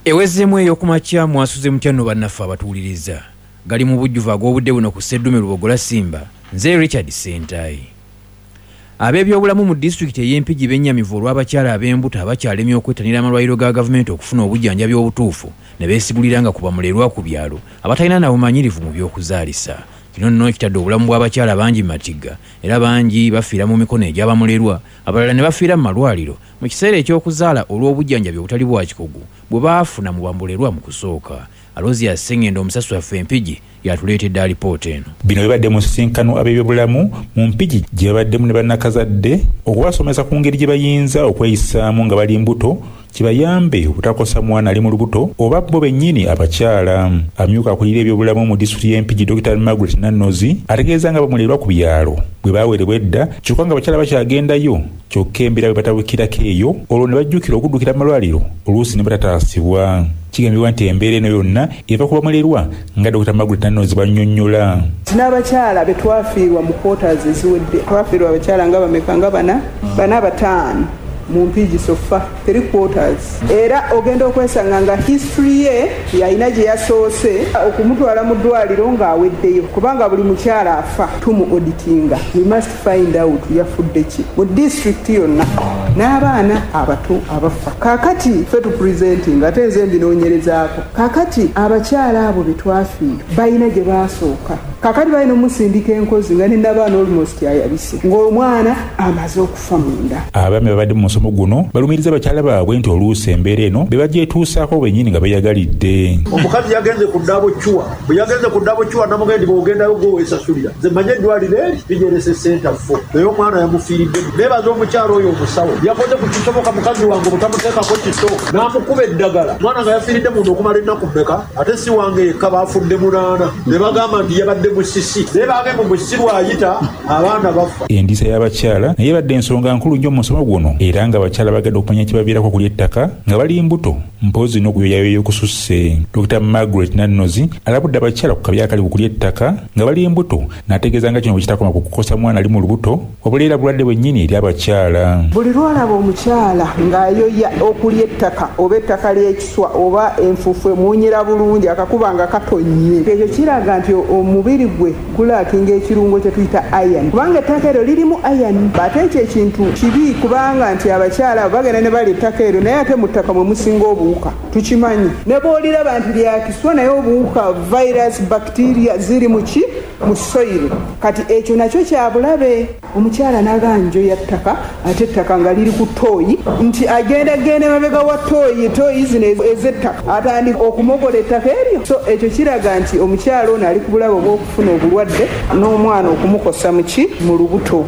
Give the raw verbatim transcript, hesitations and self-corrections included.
Ewezeemu ey'okumakya. Mwasuze mutya nno bannaffe abatuwuliriza? Gali mu bujjuvu ag'obudde buno ku Sseddume Lubogola Simba. Nze Richard Sentayi. Ab'ebyobulamu mu disitulikiti ey'Empigi bennyamivu olw'abakyala ab'embuto abakyalemye okwettanira amalwaliro ga gavumenti okufuna obujjanjabi obutuufu, ne beesigulira nga ku bamulerwa ku byalo abatalina na bumanyirivu mu by'okuzaalisa. Kino nno kitadde obulamu bw'abakyala bangi mu matigga, era bangi bafiira mu mikono egy'abamulerwa, abalala ne bafiira mu malwaliro mu kiseera eky'okuzaala olw'obujjanjabi obutali bwa kikugu bwe baafuna mu bamulerwa mu kusooka. Aloziya Sengendo, omusasi waffe Empigi, yatuleetedde alipoota eno. Bino bibadde mu nsisinkano ab'ebyobulamu mu Mpigi gye babaddemu ne bannakazadde okubasomesa ku ngeri gye bayinza okweyisaamu nga bali mbuto, kibayambe obutakosa mwana ali mu lubuto oba bo bennyini abakyala. Amyuka akulira ebyobulamu mu disitulikiti y'Empigi, Dokita Margaret Nannozi, ategeeza nga bamulerwa ku byalo bwe baawerebwa edda, kyokka nga abakyala bakyagendayo, kyokka embeera bwe batabukirako eyo, olwo ne bajjukira okuddukira mu malwaliro, oluusi ne batataasibwa. Kigambibwa nti embeera eno yonna eva ku bamulerwa, nga Dokita Margaret Nannozi bwannyonnyola. N'abakyala be twafiirwa mu quarters eziwedde, twafiirwa abakyala nga bameka? Nga bana, bana, bataano mu Mpigi so far, three quarters. Era ogenda okwesanga nga history ye yalina gye yasoose okumutwala mu ddwaliro ng'aweddeyo, kubanga buli mukyala afa tumu auditinga. We must find out yafudde ki mu disitulikiti yonna, n'abaana abato abafa. Kaakati ffe tupresenting, ate nze mbinoonyerezaako. Kaakati abakyala abo be twafiirwa balina gye baasooka. Kaakati balina omusindika enkozi nga nenabaana almost ayabise, ng'omwana amaze okufa munda. Abaami babadde mu musomo guno balumiriza bakyala baabwe nti oluusi embeera eno be bagyetuusaako bennyini nga beeyagalidde. Omukazi yagenze ku Ddabo Cure. Bwe yagenze ku Ddabo Cure, namugenda nti bw'ogendayo gwe weesasulira, nze manye eddwaliro eri ligerese senta fo, naye omwana yamufiiridde. Neebaza omukyalo oyo omusawo, yakoze ku kisoboka mukazi wange obutamuteekako kiso, n'amukuba eddagala, mwana nga yafiiridde munda okumala ennaku mmeka? Ate si wange yekka, baafudde munaana, ne bagamba nti yabadde musisi, naye bange mu musisi bw'ayita abaana bafa. Endiisa y'abakyala naye ebadde ensonga nkulu nnyo mu musomo guno, era nga abakyala bagenda okumanya ekibaviirako okulya ettaka nga bali mbuto, mpozzi n'okuyoyayoya okususse. Dokita Margaret Nannozi alabudde abakyala ku kabi akali ku kulya ettaka nga bali mbuto, n'ategeeza nga kino bwe kitakoma ku kukosa mwana ali mu lubuto, wabula era bulwadde bwennyini eri abakyala. Buli lwolaba omukyala ng'ayoya okulya ettaka, oba ettaka ly'ekiswa, oba enfuufu emuwunyira bulungi, akakuba nga katonnye, ekyo kiraga nti omubiri gwe gulackinga ekirungo kye tuyita iron, kubanga ettaka eryo lirimu iron. Ate ekyo ekintu kibi, kubanga nti abakyala abo bagenda ne balya ettaka eryo, naye ate mu ttaka mwe musinga obuwuka, tukimanyi. Ne bw'oliraba nti lyakiswa, naye obuwuka, virus, bacteria ziri mu ki? Mu soil. Kati ekyo nakyo kyabulabe. Omukyala n'agamba njoya ttaka, ate ettaka nga liri ku ttooyi, nti agenda genda mabega wa ttooyi, ttooyi zino ez'ettaka, atandika okumogola ettaka eryo. So ekyo kiraga nti omukyala ono ali ku bulabe obw'okufuna obulwadde n'omwana okumukosa mu ki? Mu lubuto.